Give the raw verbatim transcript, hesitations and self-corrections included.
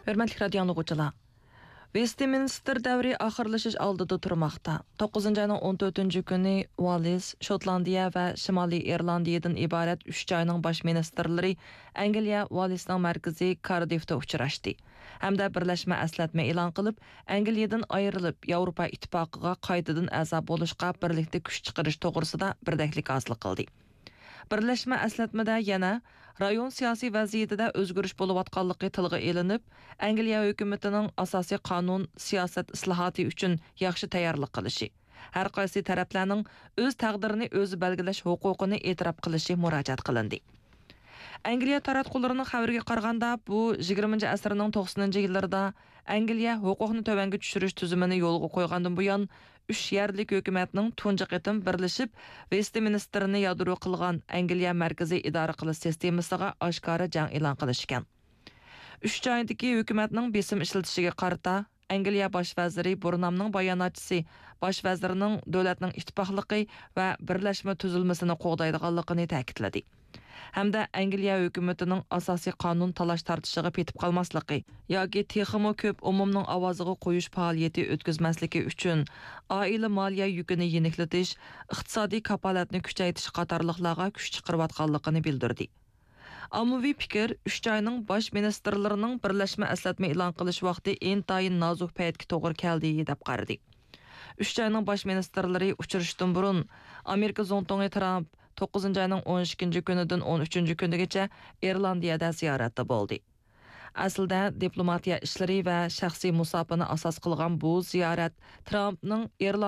ھۆرمەتلىك رادىيو ئاڭلىغۇچىلار، ۋېستمىنستېر دەۋرى ئاخىرلىشىش ئالدىدا تۇرماقتا. توققۇزىنچى ئاينىڭ ئون تۆتىنچى كۈنى ۋالىس، شوتلاندىيە ۋە شىمالىي ئىرلاندىيەدىن ئىبارەت ئۈچ جاينىڭ باش مىنىستىرلىرى ئەنگلىيە ۋالىسنىڭ مەركىزى كاردىفتا ئۇچراشتى ھەمدە بىرلەشمە ئەسلەتمە ئېلان قىلىپ، ئەنگلىيەدىن ئايرىلىپ، ياۋروپا ئىتتىپاقىغا قايتىدىن ئەزا بولۇشقا بىرلىكتە كۈچ چىقىرىش توغرىسىدا بىردەكلىك ھاسىل قىلدى. بىرلەشمە ئەسلەتمىدە يەنە رايون سىياسىي ۋەزىيىتىدە ئۆزگىرىش بولۇۋاتقانلىقى تىلغا ئېلىنىپ، ئەنگلىيە ھۆكۈمىتىنىڭ ئاساسىي قانۇن، سىياسەت ئىسلاھاتى ئۈچۈن ياخشى تەييارلىق قىلىشى، ھەر قايسى تەرەپلەرنىڭ ئۆز تەقدىرىنى ئۆزى بەلگىلەش ھوقۇقىنى ئېتىراپ قىلىشى مۇراجىئەت قىلىندى. ئەنگلىيە تاراتقۇلىرىنىڭ خەۋىرىگە قارىغاندا، بۇ يىگىرمىنچى ئەسىرنىڭ توقسىنىنچى يىللىرىدا ئەنگلىيە ھوقۇقنى تۆۋەنگە چۈشۈرۈش تۈزۈمىنى يولغا قويغاندىن بۇيان، ئۈچ يەرلىك ھۆكۈمەتنىڭ تۇنجى قېتىم بىرلىشىپ، ۋېستمىنستېرنى يادرو قىلغان ئەنگلىيە مەركىزىي ئىدارە قىلىش سىستېمىسىغا ئاشكارا جەڭ ئېلان قىلىشى ئىكەن. ئۈچ جايدىكى ھۆكۈمەتنىڭ بېسىم ئىشلىتىشىگە قارىتا، ئەنگلىيە باش ۋەزىرى بۇرنامنىڭ باياناتچىسى باش ۋەزىرنىڭ دۆلەتنىڭ ئىتتىپاقلىقى ۋە بىرلەشمە تۈزۈلمىسىنى قوغدايدىغانلىقىنى تەكىتلىدى. ھەمدە ئەنگلىيە ھۆكۈمىتىنىڭ ئاساسىي قانۇن تالاش-تارتىشىغا پېتىپ قالماسلىقى ياكى تېخىمۇ كۆپ ئومۇمنىڭ ئاۋازىغا قويۇش پائالىيىتى ئۆتكۈزمەسلىكى ئۈچۈن، ئائىلە مالىيە يۈكىنى يېنىكلىتىش، ئىقتىسادىي كاپالەتنى كۈچەيتىش قاتارلىقلارغا كۈچ چىقىرىۋاتقانلىقىنى بىلدۈردى. ئاممىۋى پىكىر ئۈچ جاينىڭ باش مىنىستىرلىرىنىڭ بىرلەشمە ئەسلەتمە ئېلان قىلىش ۋاقتى ئىنتايىن نازۇك پەيتكە توغرا كەلدى، دەپ قارىدى. ئۈچ جاينىڭ باش مىنىستىرلىرى ئۇچرىشىشتىن بۇرۇن، ئامېرىكا زۇڭتۇڭى ترامپ توققۇزىنچى ئاينىڭ ئون ئىككىنچى كۈنىدىن ئون ئۈچىنچى كۈنىگىچە ئىرلاندىيەدە زىيارەتتە بولدى. ئەسلىدە، دىپلوماتىيە ئىشلىرى ۋە شەخسىي مۇساپىنى ئاساس قىلغان بۇ زىيارەت ترامپنىڭ ئىرلاندىيە